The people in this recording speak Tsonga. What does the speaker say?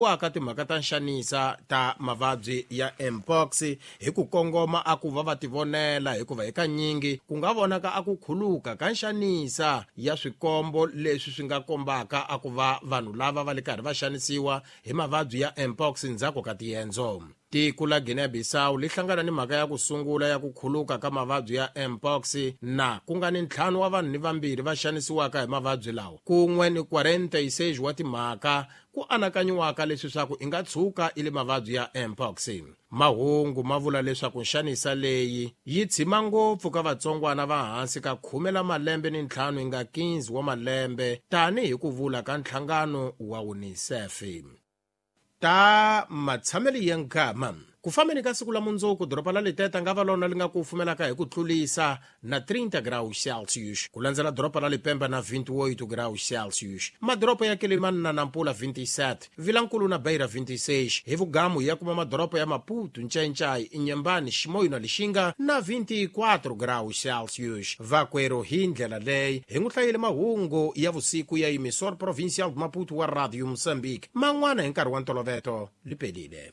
Ka timhaka ta nxanisa ta mavabyi ya mpox hi ku kongoma a ku va va tivonela, hikuva hikanyingi ku nga vonaka a ku khuluka ka nxanisa ya swikombo leswi swi nga kombaka a ku va vanhu lava va le karhi va xanisiwa hi mavabyi ya mpox ndzhaku ka tiendzo. Tiko la Guinea-Bissau li hlangana ni mhaka ya ku sungula ya ku khuluka ka mavabyi ya mpox, na ku nga ni 5 wa vanhu ni 2 va xanisiwaka hi mavabyi lawa, kun'we ni 46 wa timhaka ku anakanyiwaka leswi swa ku i nga tshuka i le mavabyi ya mpox. Mahungu ma vula leswaku nxanisa leyi yi tshima ngopfu ka vatsongwana va hansi ka 10 la malembe ni 5 yi nga 15 wa malembe, tanihi ku vula ka nhlangano wa UNICEF. Ta matshamelo ya nkama ku fambeni ka siku la mundzuku, doroba la Liteta nga va lona li nga ku fumelaka hi ku tlulisa na 30 graus Celsius, ku landzela doroba la Lipemba na 28 graus Celsius, madoroba ya Quelimane na Nampula 27, Vilankulu na Beira 26. Hi vugamu ya kuma madoroba ya Maputo, Ncayincai, Inhambane, Chimoio na Lixinga na 24 graus Celsius. Vakwero, hi ndlela leyi hi n'wi hlayile mahungu ya vusiku ya Emissor Provincial de Maputo wa Radio Moçambique. Man'wana hi nkarhi wa ntoloveto. Lipelile.